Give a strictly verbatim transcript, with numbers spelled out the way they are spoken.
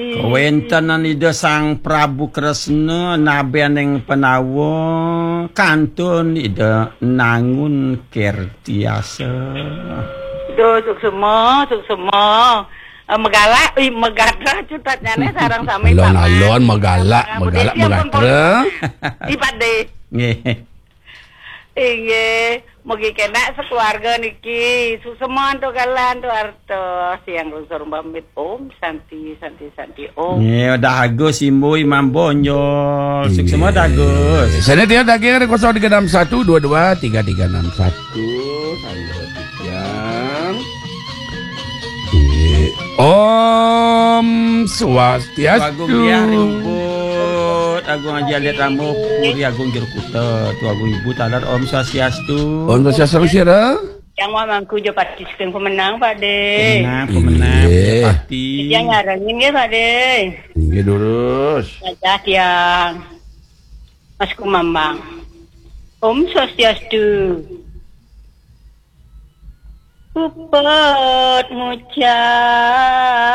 Kawéntenan Ida Sang Prabu Kresna nabéning Pandawa kantun Ida Nangun Kertiasa. Duh, suksema, suksema. Eh, megalak, ih, megadra cutatnyané sareng sami. Alon-alon, megalak, megalak, megadra. Ih, Pak Dé. Nggih. Inggih, mugi kénak sakeluarga niki. Suksema antuk galah antuk artos. Tiang lungsur pamit. Om Santi, Santi, Santi, Om. Nggih, Dah Agus, Imbu, Imam Bonjol. Suksema, Dah Agus. Sané tiang daging ada kosong tiga enam satu dua dua tiga tiga enam satu. Saya tiang. Nggih. Om Swastiastu. Agung Diah Ri Ubud, Agung Haji Alit Rambut, Puri Agung Jero Kuta, Tu Agung Ibu taler. Om Swastiastu. Om Swastiastu, Sira. Yang wah mangku jo pati saking pemenang, Pak Dé. Pemenang, pemenang, Nggih. Pati. Yang nyarengin nggih, Pak Dé. Nggih, durus. Wajah tiang. Mas Kumambang. Om Swastiastu. Puput ngucap.